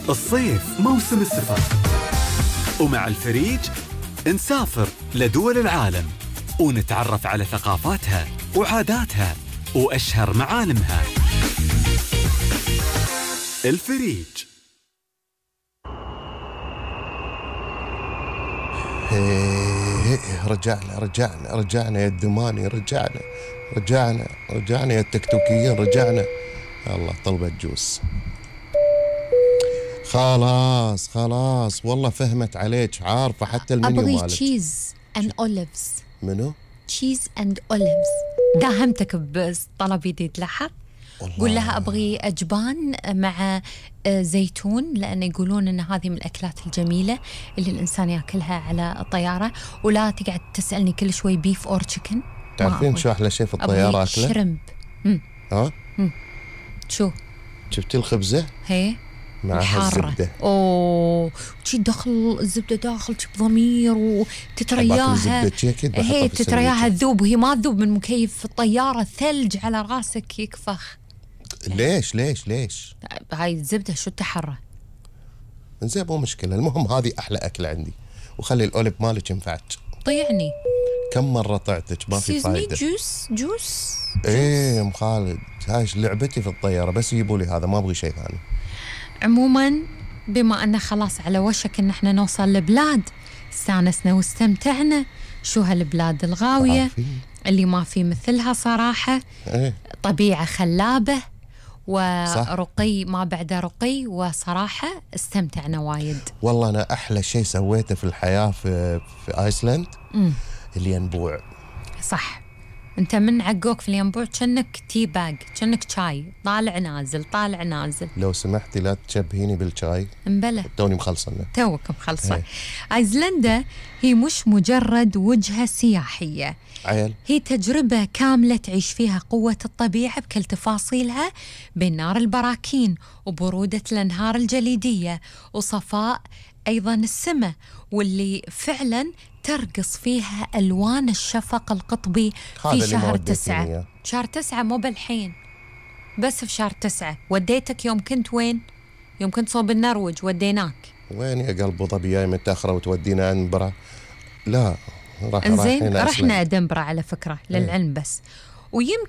الصيف موسم السفر، ومع الفريج نسافر لدول العالم ونتعرف على ثقافاتها وعاداتها وأشهر معالمها. الفريج. رجعنا يا الدماني، رجعنا يا التكتوكيين، رجعنا. الله طلبت جوس. خلاص والله فهمت عليك، عارفة حتى المنيو مالك. أبغي تشيز أند أوليفز. منو؟ تشيز أند أوليفز. داهمتك بطلب جديد، لاحظ. قول لها أبغي أجبان مع زيتون، لأن يقولون أن هذه من الأكلات الجميلة اللي الإنسان يأكلها على الطيارة. ولا تقعد تسألني كل شوي بيف أور تشيكن. تعرفين شو أحلى شيء في الطيارة أكله؟ شرمب. ها؟ شو؟ شفتي الخبزة؟ هي معها الزبدة. أوه، شي داخل الزبدة، داخل بضمير وتترياها. هي تترياها تذوب، وهي ما تذوب من مكيف الطيارة، ثلج على راسك يكفخ. ليش هاي الزبدة شو التحرى؟ زين مو مشكلة، المهم هذه أحلى أكل عندي، وخلي الأوليف مالك ينفعك. طيعني كم مرة طعتك ما في فايدة. جوس. ايه يا ام خالد، هاي لعبتي في الطيارة، بس يجيبوا لي هذا، ما ابغي شيء ثاني. عموما بما أن خلاص على وشك أن احنا نوصل لبلاد استانسنا واستمتعنا، شو هالبلاد الغاوية اللي ما في مثلها صراحة. طبيعة خلابة ورقي ما بعد رقي، وصراحة استمتعنا وايد. والله أنا أحلى شيء سويته في الحياة في آيسلند الينبوع. صح، أنت من عقوك في الينبوع كأنك تي باج، كأنك شاي طالع نازل. لو سمحتي لا تشبهيني بالشاي. مبلى توني مخلصة. توك مخلصة. آيسلندا هي مش مجرد وجهة سياحية، هي تجربة كاملة تعيش فيها قوة الطبيعة بكل تفاصيلها، بين نار البراكين وبرودة الأنهار الجليدية وصفاء أيضا السماء، واللي فعلا ترقص فيها ألوان الشفق القطبي في شهر 9. شهر 9 مو بالحين، بس في شهر 9. وديتك يوم كنت وين؟ يوم كنت صوب النرويج وديناك وين يا قلب ضبي؟ جاي متأخرة وتودينا أدنبرا؟ لا رحنا أدنبرا على فكرة للعلم بس. ويمكن